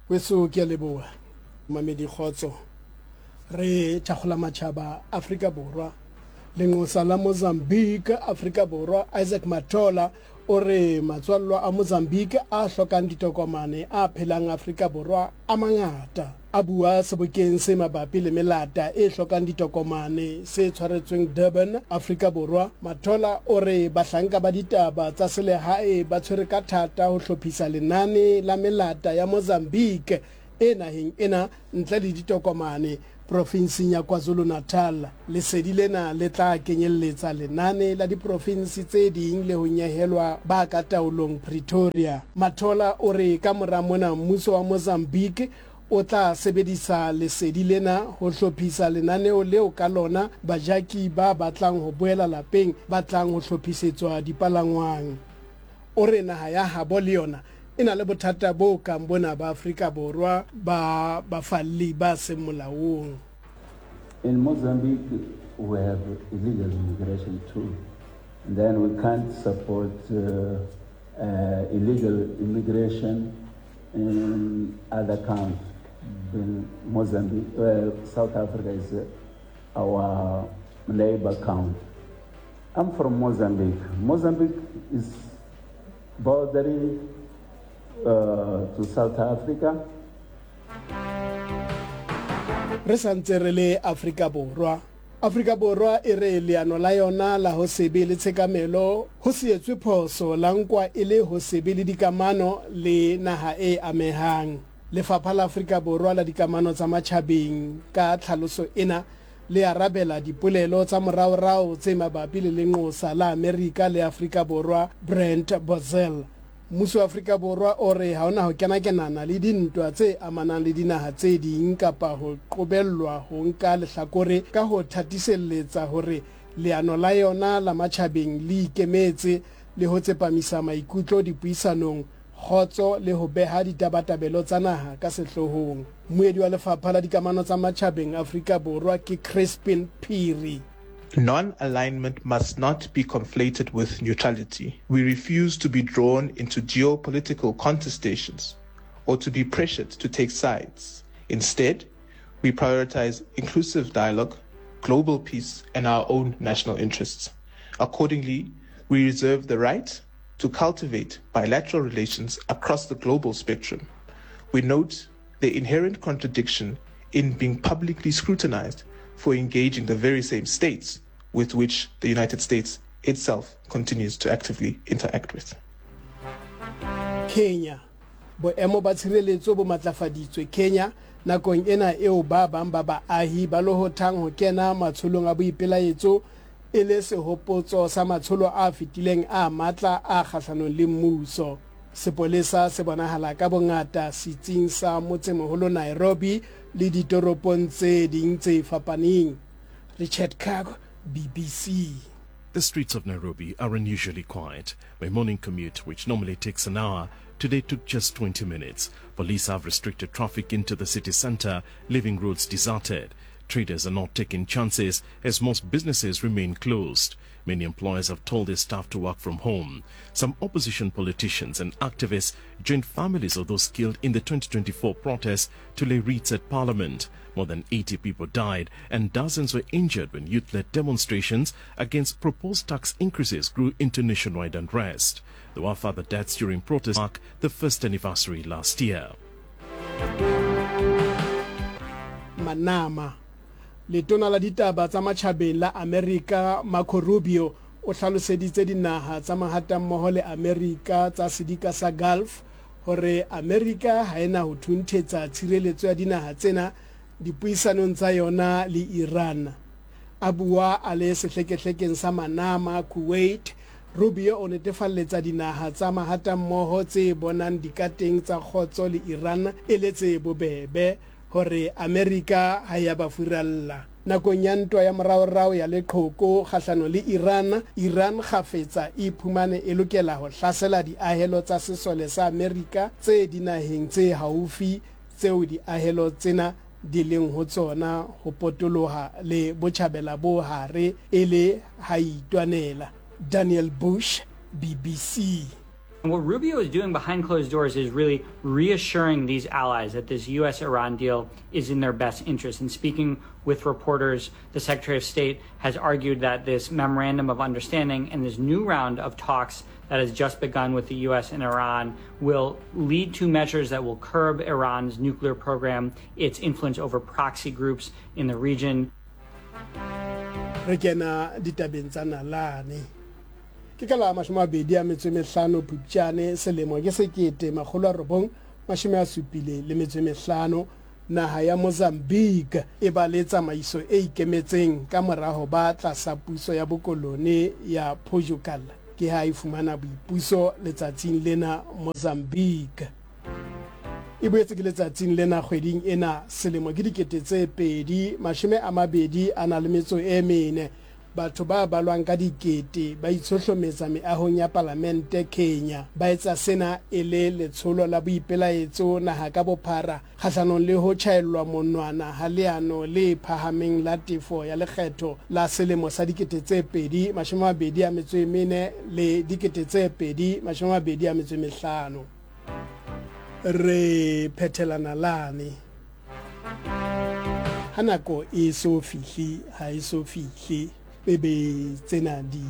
Weso ke a leboha. Mamedi kgotso. Re thakgola matšhaba Afrika Borwa. Lenqosa la Mozambique Afrika Borwa Isaac Matola o re matswallwa a Mozambique a hlokang ditokomane a phelang Afrika Borwa a mangata. A bua sebokeng se mabapi le melata e hlokang ditokomane se tshwaretsweng Durban, Afrika Borwa, Matola o re bahlanka ba ditaba tsa selehae ba tshwere ka thata ho hlophisa lenane la melata ya Mozambique e naheng ena ntle le ditokomane profinseng ya KwaZulu-Natal. Lesedi lena le tla kenyelletsa lenane la diprofinse tse ding le ho nyehelwa ba ka taolong Pretoria. Mathola o re ka mora mona mmuso wa Mozambique o tla sebedisa lesedi lena ho hlophisa lenaneo leo ka lona bajaki ba batlang ho boela lapeng ba tlang ho hlophisetswa dipalangwang. O re naha ya habo le yona e na le bothata bo kang bona ba Afrika Borwa ba bafalli ba seng molaong. In Mozambique we have illegal immigration too and then we can't support uh, uh, illegal immigration in other countries. In Mozambique, uh, South Africa is uh, our neighbor country. I'm from Mozambique. Mozambique is bordering uh, to South Africa. Re sa ntse re le Afrika Borwa. Afrika Borwa e re leano la yona la ho se be le tshekamelo ho se etswe phoso la nkwa e le ho se be le dikamano le naha e amehang. Lefapha la Afrika Borwa la Dikamano tsa Matjhabeng ka tlhaloso ena le arabela dipolelo tsa moraorao tse mabapi le lenqosa la Amerika le Afrika Borwa Brent Bozell. Mmuso wa Afrika Borwa o re ha o na ho kenakenana le dintwa tse amanang le dinaha tse ding kapa ho qobellwa ho nka lehlakore ka ho thatiselletsa hore leano la yona la matjhabeng le ikemetse le ho tsepamisa maikutlo dipuisanong kgotso le ho beha ditabatabelo tsa naha ka sehloohong. Mmuedi wa Lefapha la Dikamano tsa Matjhabeng Afrika Borwa ke Crispin Phiri. Non-alignment must not be conflated with neutrality. We refuse to be drawn into geopolitical contestations or to be pressured to take sides. Instead, we prioritize inclusive dialogue, global peace, and our own national interests. Accordingly, we reserve the right to cultivate bilateral relations across the global spectrum. We note the inherent contradiction in being publicly scrutinized for engaging the very same states with which the United States itself continues to actively interact with. Kenya. Boemo ba tshireletso bo matlafaditswe Kenya nakong ena eo ba bang ba baahi ba lohothang ho kena matsholong a boipelaetso e le sehopotso sa matsholo a fetileng a matla a kgahlanong le mmuso. Sepolesa se bonahala ka bongata setsing sa motsemoholo Nairobi le ditoropong tse ding tse fapaneng. Richard Kago, BBC. The streets of Nairobi are unusually quiet. My morning commute, which normally takes an hour, today took just 20 minutes. Police have restricted traffic into the city center, leaving roads deserted. Traders are not taking chances as most businesses remain closed. Many employers have told their staff to work from home. Some opposition politicians and activists joined families of those killed in the 2024 protests to lay wreaths at parliament. More than 80 people died and dozens were injured when youth-led demonstrations against proposed tax increases grew into nationwide unrest. There were further deaths during protests mark the first anniversary last year. Manama. Letona la ditaba tsa matjhabeng la Amerika Marco Rubio o hlaloseditse dinaha tsa mahatammoho le Amerika tsa sedika sa Gulf hore Amerika ha e na ho thunthetsa tshireletso ya dinaha tsena dipuisanong tsa yona le Iran. A bua a le sehlekehlekeng sa Manama, Kuwait, Rubio o netefalletsa dinaha tsa mahatammoho tse bonang dikateng tsa kgotso le Iran e le tse bobebe hore Amerika ha e a ba furalla. Nakong ya ntwa ya moraorao ya leqhoko kgahlano le Iran, Iran kgafetsa e iphumane e lokela ho hlasela diahelo tsa sesole sa Amerika tse dinaheng tse haufi tseo diahelo tsena di leng ho tsona ho potoloha le Botjhabela bo Hare e le ha e itwanela. Daniel Bush, BBC. And what Rubio is doing behind closed doors is really reassuring these allies that this U.S. Iran deal is in their best interest. And speaking with reporters, the Secretary of State has argued that this memorandum of understanding and this new round of talks that has just begun with the U.S. and Iran will lead to measures that will curb Iran's nuclear program, its influence over proxy groups in the region. Re kena ditabeng tsa nalane. Ke ka la 25 Phupjane selemo ke 1975 naha ya Mozambique e ba le tsamaiso e ikemetseng ka mora ho ba tlasa puso ya bokolone ya Portugal. Ke ha e fumana boipuso letsatsing lena Mozambique. E boetse ke letsatsing lena kgweding ena selemo ke 2024. Batho ba balwang ka dikete ba itshohlometsa meahong ya palamente Kenya. Ba etsa sena e le letsholo la boipelaetso naha ka bophara kgahlanong le ho tjhaellwa monwana ha leano le phahameng la tefo ya lekgetho la selemo sa 2024 le 2025. Re phethela nalane. Ha nako e so fihle, ha e so fihle. Ebe tsena di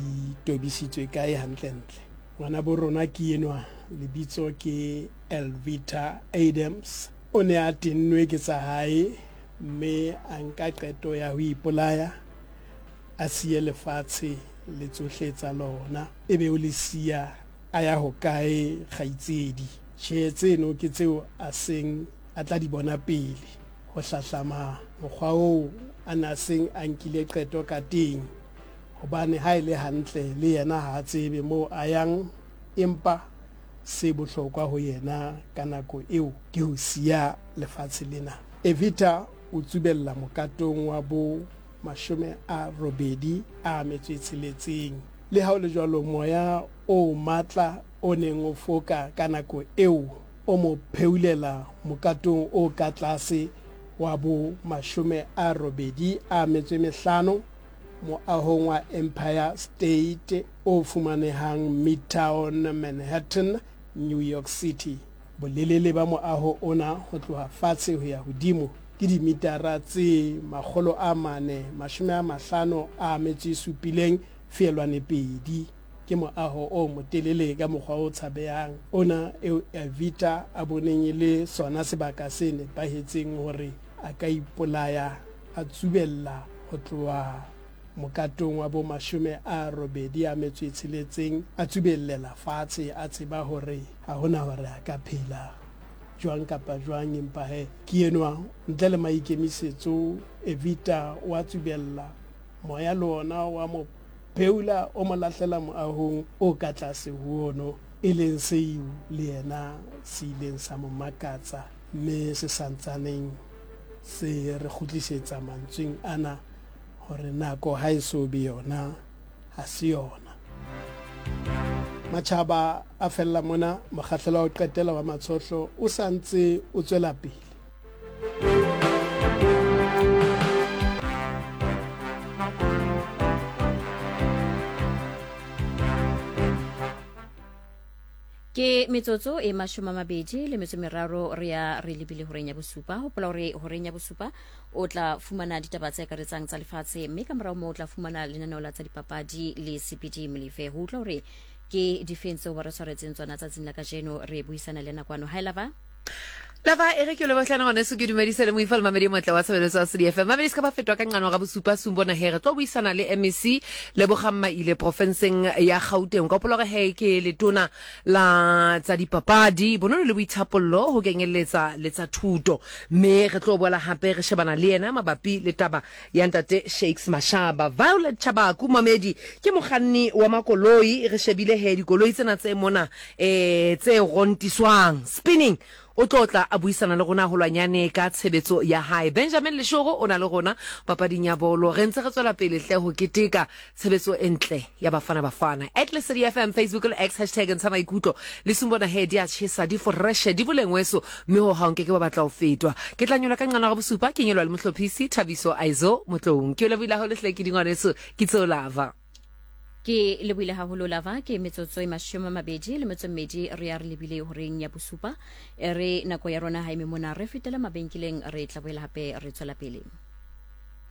tobisitswe kae hantlentle? Ngwanabo rona ke enwa, lebitso ke Elvita Adams. O ne a tennwe ke tsa hae mme a nka qeto ya ho ipolaya, a siye lefatshe le tsohle tsa lona. Ebe o le siya a ya hokae kgaitsedi? Tjhe, tseno ke tseo a seng a tla di bona pele. Ho hlahlama mokgwa oo a na seng a nkile qeto ka teng, hobane ha e le hantle le yena ha a tsebe moo a yang, empa se bohlokwa ho yena ka nako eo ke ho siya lefatshe lena. Evita o tsubella mokatong wa bo 86. Le ha ho le jwalo, moya o matla o neng o foka ka nako eo o mo pheulela mokatong o ka tlase wa bo 85 moahong wa Empire State o fumanehang Midtown Manhattan, New York City. Bolelele ba moaho ona ho tloha fatshe ho ya hodimo ke dimitara tse 457.2. Ke moaho o motelele ka mokgwa o tshabehang ona eo Evita a boneng e le sona sebaka se nepahetseng hore a ka ipolaya, a tsubella ho tloha mokatong wa bo 86, a tsubellela fatshe a tseba hore ha hona hore a ka phela jwang kapa jwang. Empa he, ke enwa ntle le maikemisetso, Evita o a tsubella, moya le ona wa mo pheula o mo lahlela moahong o ka tlase ho ono, e leng seo le yena se ileng sa mo makatsa mme se sa ntsaneng se re kgutlisetsa mantsweng ana hore nako ha e so be yona, ha se yona. Matjhaba a fella mona, mokgahlelo wa ho qetela wa Matshohlo o sa ntse o tswela pele. Ke metsotso e 23 re ya re lebile horeng ya bosupa. Hopola hore horeng ya bosupa o tla fumana ditaba tse akaretsang tsa lefatshe, mme ka morao moo o tla fumana lenaneo la tsa dipapadi le CPD Molefe. Ho utlwa hore ke difeng tseo ba re tshwaretseng tsona tsatsing la kajeno, re buisana le nakwano. Hi Lava. Lava e re ke lebohlana ngwaneso, ke dumedise le moifa le mamedi e motle wa tshebeletso ya CDFM. Mamedi se ka ba fetwa ka nqano ga bosupa sumbona he re tlo buisana le MEC Lebogang Maile profenseng ya Gauteng. Ka hopola hore he ke letona la tsa dipapadi, bonono le boithapollo ho kenyelletsa le tsa thuto. Mme re tlo boela hape re shebana le yena mabapi le taba ya ntate Shakes Mashaba. Violet Chabaku mamedi ke mokganni wa makoloi, re shebile he dikoloi tsena tse mona eh tse rontiswang spinning o tlo tla a buisana le rona holwanyane ka tshebetso ya hae. Benjamin Leshoro o na le rona papading ya bolo. Re ntse re tswela pele hle ho keteka tshebetso e ntle ya Bafana Bafana. At Lesedi FM, Facebook le X, hashtag ntsha maikutlo. Le sumbona he di a tjhesa, di foreshe, di boleng weso, mme ho hang ke ke ba batla ho fetwa. Ke tla nyola ka nqana ga bosupa, ke nyolwa le mohlophisi Thabiso Aizo Motloung. Ke o lebohile haholo hle ke dingwaneso, ke tseo lava. Ke lebohile haholo Lava, ke metsotso e mashome a mabedi le metso mmedi re ya re lebile horeng ya bosupa. E re nako ya rona ha eme mona, re fetele mabenkeleng, re tla boela hape re tswela pele.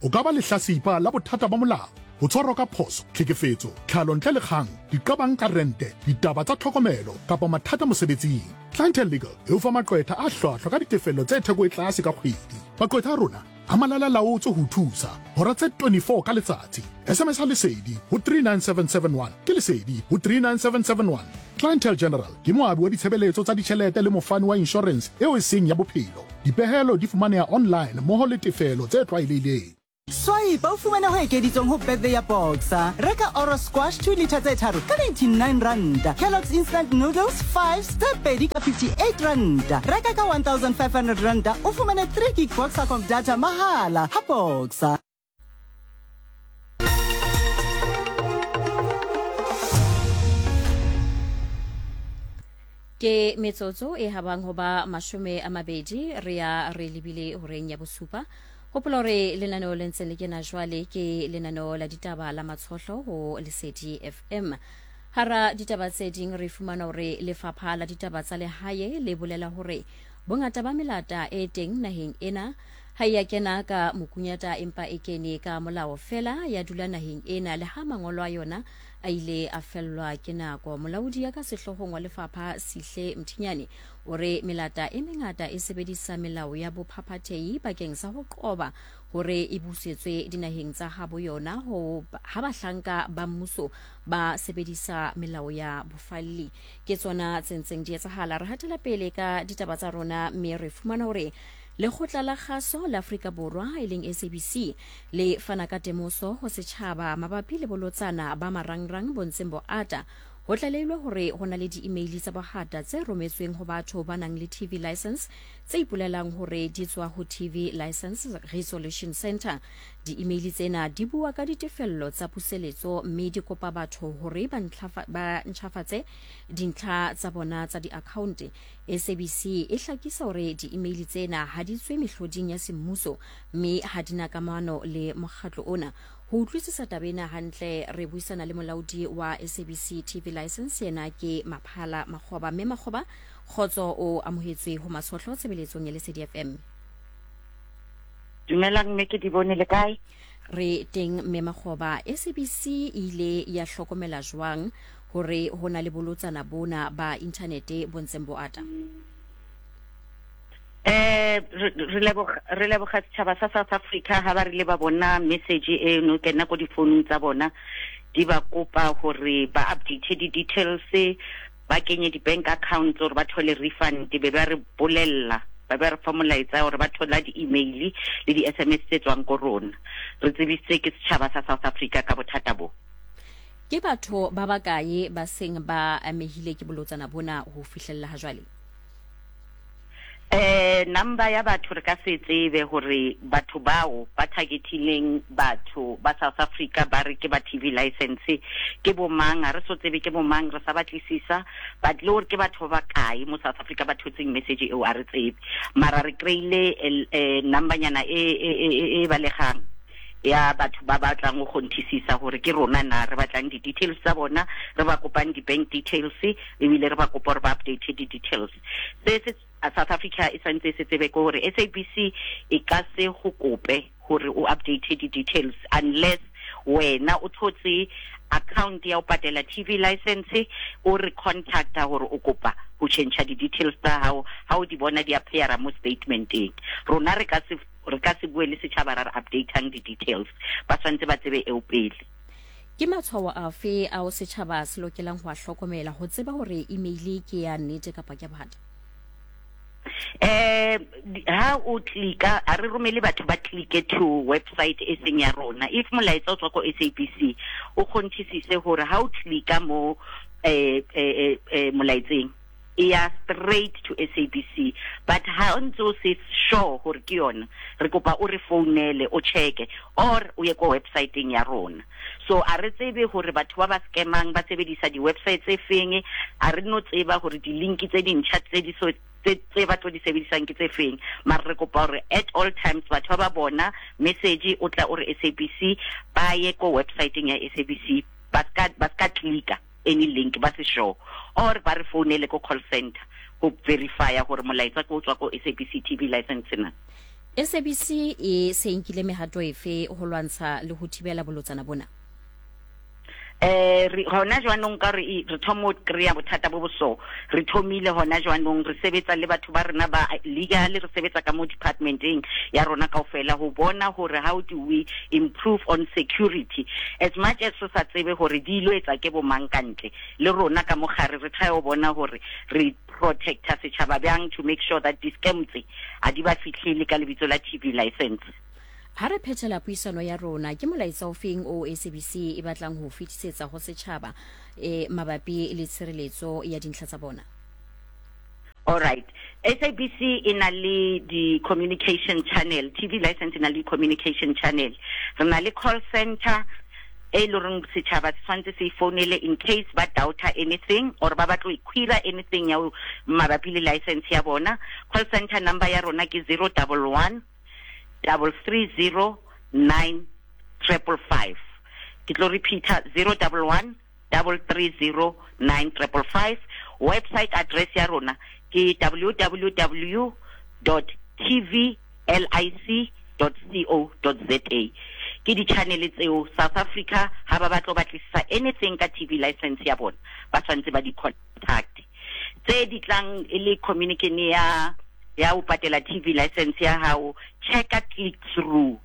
O ka ba lehlasipa la bothata ba molao, ho tshwarwa ka phoso, tlhekefetso, tlhalo ntle le kgang, diqabang ka rente, ditaba tsa tlhokomelo kapa mathata mosebetsing. Clientele Legal e o fa maqwetha a hlwahlwa ka ditefello tse theko e tlase ka kgwedi. Maqwetha a rona a malala-laotswe ho o thusa hora tse 24 ka letsatsi. SMS-a Lesedi ho 39771 ke Lesedi ho 39771. Clientele General ke moabi wa ditshebeletso tsa ditjhelete le mofani wa inshorense eo e seng ya bophelo. Dipehelo di fumaneha online mmoho le tefelo tse tlwaelehileng. Swipe o fumane ho ekeditsweng ho birthday ya Boxer. Reka Oro Squash 2 litre tse tharo ka 99 ranta. Kellogg's Instant Noodles 5 tse pedi ka 58 ranta. Reka ka 1500 ranta o fumane 3 gig Boxercom data mahala ha Boxer. Ke metsotso e habang ho ba 20 re ya re lebile horeng ya bosupa. Hopola hore lenaneo le ntseng le kena jwale ke lenaneo la ditaba la Matshohlo ho Lesedi FM. Hara ditaba tse ding re fumana hore lefapha la ditaba tsa lehae le bolela hore bongata ba melata e teng naheng ena ha e ya kena ka mokunyata empa e kene ka molao fela ya dula naheng ena le ha mangolo a yona a ile a fellwa ke nako. Molaodi ya ka sehloohong wa lefapha Sihle Mthinyane o re melata e mengata e sebedisa melao ya bophaphathehi bakeng sa ho qoba hore e busetswe dinaheng tsa habo yona ho ha bahlanka ba mmuso ba sebedisa melao ya bofalli. Ke tsona tse ntseng di etsahala. Re hatela pele ka ditaba tsa rona mme re fumana hore Lekgotla la Kgaso la Afrika Borwa e leng SABC le fana ka temoso ho setjhaba mabapi le bolotsana ba marangrang bo ntseng bo ata. Ho tlalehilwe hore ho na le di-email tsa bohata tse rometsweng ho batho ba nang le TV license tse ipolelang hore di tswa ho TV License Resolution Centre. Di-email tsena di bua ka ditefello tsa puseletso mme di kopa batho hore ba ntjhafatse dintlha tsa bona tsa di-akhaonte. SABC e hlakisa hore di-email tsena ha di tswe mehloding ya semmuso mme ha di na kamano le mokgatlo ona. Ho utlwisisa taba ena hantle, re buisana le molaodi wa SABC TV License, yena ke Maphala Makgoba. Mme Makgoba, kgotso, o amohetswe ho Matshohlo tshebeletsong ya Lesedi FM. Dumelang mme ke di bone le kae? Re teng mme Makgoba. SABC e ile ya hlokomela jwang hore ho na le bolotsana bona ba inthanete bo ntseng bo ata? Eh re leboga re leboga setšhaba sa South Africa ha ba rile ba bona message e no kena ko difounung tsa bona di ba kopa hore ba update di-details ba kenye di-bank accounts gore ba thole refund be ba re bolella ba be re fa molaetsa gore ba thola di-email le di-sms tse tswang ko rona re tsebisitse ke setšhaba sa South Africa ka bothata bo. Ke batho ba bakae ba seng ba amehile ke bolotsana bona ho fihlella ha jwale? Eh number ya batho re ka se tsebe hore batho bao ba targetileng batho ba South Africa ba re ke ba TV license ke bo mang, ha re so tsebe ke bo mang, re sa batlisisa but le hore ke batho ba bakae mo South Africa ba thotseng message eo a re tsebe, mara re kry-ile eh, number nyana e e e e balegang ya batho ba batlang go kgonthisisa gore ke rona na re batlang di-details tsa bona, re ba kopang di-bank details ebile re ba kopa gore ba update di-details. Se se South Africa e santse e se tsebe ke gore SABC e ka se go kope gore o update di-details unless wena o thotse account ya o patela TV license o re contacta gore o kopa go change di-details tsa gago ga o di bona di appeara mo statementeng. Rona re ka se Re ka se bue le setšhaba ra re updatang di-details, ba tshwanetse ba tsebe eo pele. Ke matshwao afe ao setšhaba se lokelang ho a hlokomela ho tseba hore email ke ya nnete kapa ke ya bohata? Eh, ha o klika, ha re romele batho ba klike to website e seng ya rona. If molaetsa o tswa ko SABC, o kgonthisise hore ha o klika mo eh, eh, eh, molaetseng, e ya straight to SABC but ha o ntse o se sure gore ke yona, re kopa o re founele o checke or o ye ko websiteng ya rona. So a re tsebe gore batho ba ba scamang ba sebedisa di-website tse feng, a re no tseba gore di-link tse dintšha tse di so tse ba tlo di sebedisang ke tse feng, mara re kopa gore at all times batho ba ba bona message o tla o re SABC ba ye ko websiteng ya SABC. Ba ska ba ska clicker any link ba se sure or ba re founele ko call center go verifya gore molaetsa ke o tswa ko SABC TV license na. SABC e se nkile mehato efe ho lwantsha le ho thibela bolotsana bona? Eh re hona jwanong ka re re thomo kry-a bothata bo bo so re thomile hona jwanong re sebetsa le batho ba rena ba legal re sebetsa ka mo departmenteng ya rona kaofela ho bona hore how do we improve on security as much as re sa tsebe hore di ilo etsa ke bo mang ka ntle le rona ka mogare re try ho bona hore re protecta setšhaba bjang to make sure that di-scam tse a di ba fihlele ka lebitso la TV license. Ha re phethela puisano ya rona, ke molaetsa ofeng o SABC e batlang ho o fetisetsa ho setjhaba e mabapi le tshireletso ya dintlha tsa bona? All right. SABC e na le di-communication channel, TV license e na le di-communication channel. Re na le call center e le goreng setšhaba se tshwanetse se e founele in case ba doubter anything or ba batlo query anything ya mabapi le license ya bona. Call center number ya rona ke 011 330 9555. Ke tlo repeater 011 330 9555. Website address ya rona ke www dot tvlic dot co dot za. Ke di-channel tseo South Africa ha ba batla ho batlisisa anything ka TV license ya bona ba tshwanetse ba di contact. Tse di tlang e le communication ya ya ho patela TV license ya hao, checka click through.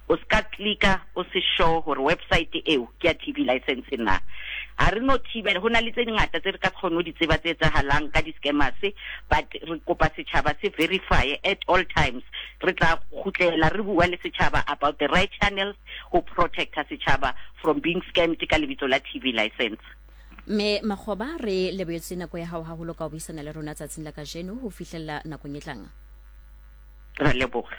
O ska clicka o se sure hore website eo ke ya TV license na. Ha re no thibela, ho na le tse dingata tse re ka kgone ho di tseba tse etsahalang ka di-scammers, but re kopa setjhaba se verify at all times. Re tla kgutlela re bua le setjhaba about the right channels ho protecta setjhaba from being scammed ka lebitso la TV license. Mme Makgoba, re lebohetse nako ya hao haholo ka ho buisana le rona tsatsing la kajeno ho fihlella nakong e tlang. Ra leboga.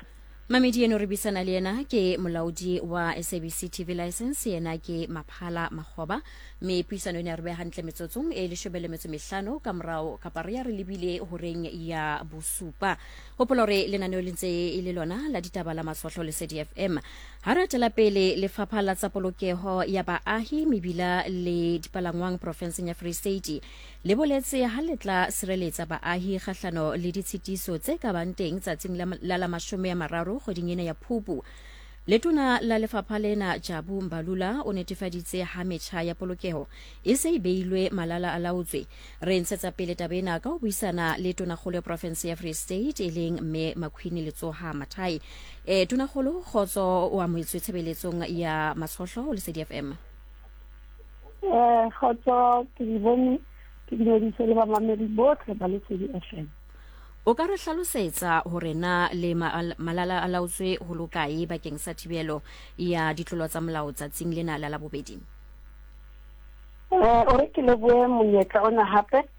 Mamedi eno re buisana le yena ke molaodi wa SABC TV license, yena ke Maphala Makgoba. Mme puisano ena re beha hantle metsotsong e leshome le metso mehlano ka morao kapa re ya re lebile horeng ya bosupa. Hopola hore lenaneo le ntse e le lona la ditaba la Matshohlo le SADFM. Ha re atela pele, Lefapha la tsa Polokeho ya Baahi, Mebila le Dipalangwang profenseng ya Free State le boletse ha le tla sireletsa baahi kgahlano le ditshitiso tse ka bang teng tsatsing la la la 30 kgweding ena ya Phupu. Letona la lefapha lena Jabu Mbalula o netefaditse ha metjha ya polokeho e se e beilwe malala a laotswe. Re ntshetsa pele taba ena ka ho buisana le tonakgolo ya profense ya Free State e leng Mme Makhwini Letsoha Mathai. E, tonakgolo, kgotso, o amohetswe tshebeletsong ya Matshohlo ho Lesedi FM. Eh, kgotso, ke di bone, ke dumedise le bamamedi botlhe ba Lesedi FM. O ka re hlalosetsa hore na le malala a laotswe ho lokae bakeng sa thibelo ya ditlolo tsa molao tsatsing lena la Labobedi? Eh, o re ke lebohe monyetla ona hape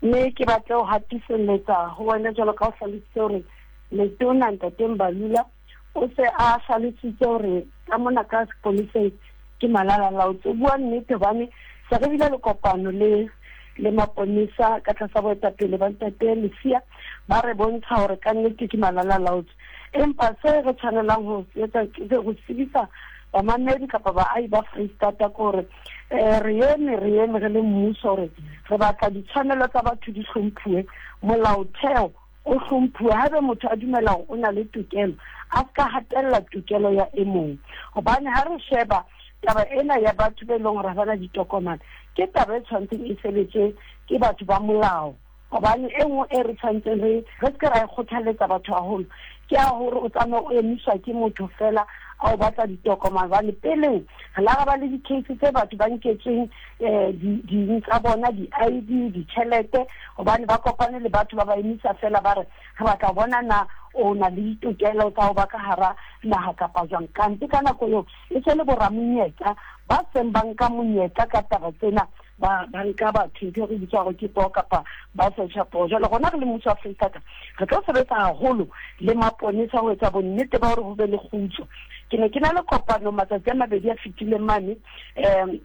mme ke batle ho hatiselletsa ho wena jwalo ka o hlalositse hore letona Ntate Mbalula o se a hlalositse hore ka mona ka sepoleseng ke malala laotse. O bua nnete hobane se re bile le kopano le le maponesa ka tlasa boetapele ba Ntate Lesia, ba re bontsha hore ka nnete ke malala laotse. Empa se re tshwanelang ho se etsa ke ho tsebisa bamamedi kapa baahi ba Freistata ke hore um re eme re eme re le mmuso hore re batla ditshwanelo tsa batho di hlomphuwe, molaotheo o hlomphuwe. Haebe motho a dumela hore o na le tokelo, a se ka hatella tokelo ya e mong. Hobane ha re sheba taba ena ya batho be leng hore ha ba na ditokomane, ke taba e tshwanetseng e sebetswe ke batho ba molao. Hobane e nngwe e re tshwanetseng re re se ke ra e kgothaletsa batho haholo ke ya hore o tsamaye o emiswa ke motho fela a o batla ditokomane. Hobane peleng re la ra ba le di-case tse batho ba nketsweng um ding tsa bona, di-I_D, ditjhelete, hobane ba kopane le batho ba ba emisa fela ba re re batla ho bona na o na le ditokelo tsa ho ba ka hara naha kapa jwang. Kante ka nako eo e se le boramonyetla ba seng ba nka monyetla ka taba tsena, ba ba nka batho ntho e re bitsa gore ke poo kapa ba searcha poo. Jwale rona re le mmuso wa Freistata re tlo sebetsa haholo le maponesa ho etsa bonnete ba hore ho be le kgutso. Ke ne ke na le kopano matsatsi a mabedi a fetileng mane um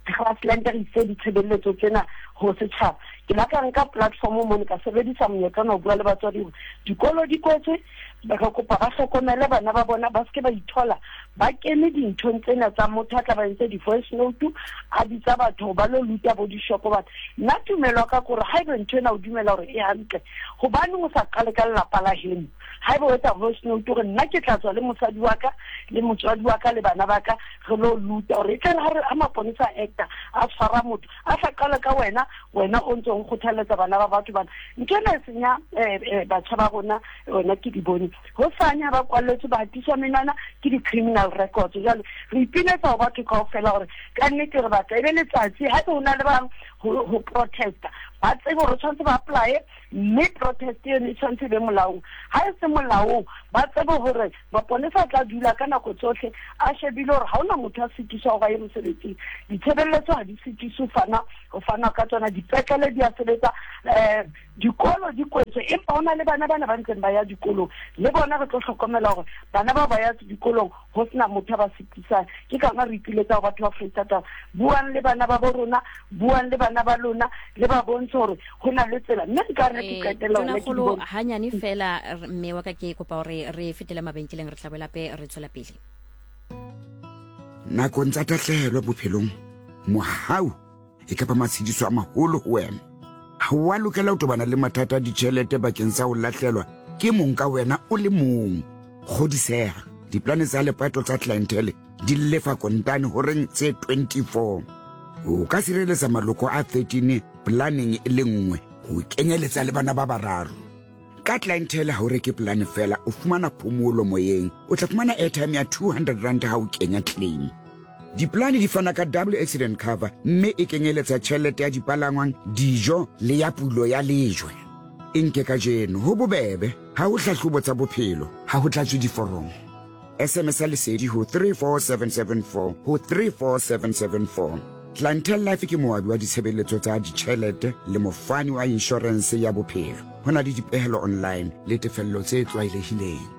Grassland, re itse ditshebeletso tsena ho setjhaba. Ke la ka nka platform mono ka sebedisa monyetla ona ho bua le batswadi hore dikolo di kwetswe, re kopa ba hlokomele bana ba bona, ba seke ba ithola ba kene dinthong tsena tsa motho a tla ba entse di-voice note a bitsa batho hore ba lo luta bo dishopo batho. Nna tumelo ya ka ke hore haeba ntho ena o dumela hore e hantle, hobaneng o sa qale ka lelapa la heno? Haeba o etsa voice note hore nna ke tla tswa le mosadi wa ka le motswadi wa ka le bana ba ka re lo luta hore e tle re ha maponesa a acta a tshwara motho a sa qala ka wena, wena o ntse o kgothalletsa bana ba batho bana. Ntho ena e senya batjha ba rona, wena ke di bone. Hosane ha ba kwalletswe ba hatiswa menwana ke di-criminal records. Jwale re ipiletsa ho batho kaofela hore ka nnete re batla e be letsatsi haebe ho na le bang ho protesta, ba tsebe hore tshwanetse ba apply-e, mme protest eno e tshwanetse e be molaong. Ha e se molaong, ba tsebe hore maponesa a tla dula ka nako tsohle a shebile hore ha hona motho a sitiswa hore a ye mosebetsing. Ditshebeletso ha di sitiswe ho fanwa ka tsona, dipetlele di a sebetsa, dikolo di kwetswe, empa ho na le bana bana ba ntseng ba ya dikolong, le bona re tlo hlokomela hore bana bao ba ya dikolong ho sena motho a ba sitisang. Ke ka hona re ipiletsa ho batho ba Foreistatata, buang le bana ba bo rona, buang le bana ba lona, le ba bontshe hore ho na le tsela. Mme nka re ke qetella hona ke di Tonakgolo, bone. hanyane fela, mme wa ka ke kopa hore re fetele mabenkeleng, re tla boela hape re tswela pele. Nakong tsa tahlehelo bophelong, mohau e ka ba matshediso a maholo ho wena. Ha o a lokela ho tobana le mathata a ditjhelete bakeng sa ho lahlelwa ke mong ka wena o le mong. Kgodiseha, diplane tsa lepato tsa Clientele di lefa kontane horeng tse 24. O ka sireletsa maloko a 13 planeng e le nngwe, ho kenyeletsa le bana ba bararo. Ka Clientele ha o reke polane fela, o fumana phomolo moyeng. O tla fumana airtime ya 200 rand ha o kenya claim. Dipolane di fana ka double accident cover mme e kenyeletsa tjhelete ya dipalangwang, dijo le ya pulo ya lejwe. E nke kajeno, ho bobebe, ha ho hlahlobo tsa bophelo, ha ho tlatswe diforomo. SMS ya Lesedi ho 34774 ho 34774. Clientele Life ke moabi wa ditshebeletso tsa ditjhelete le mofani wa inshorense ya bophelo. Ho na le dipehelo online le tefello tse tlwaelehileng.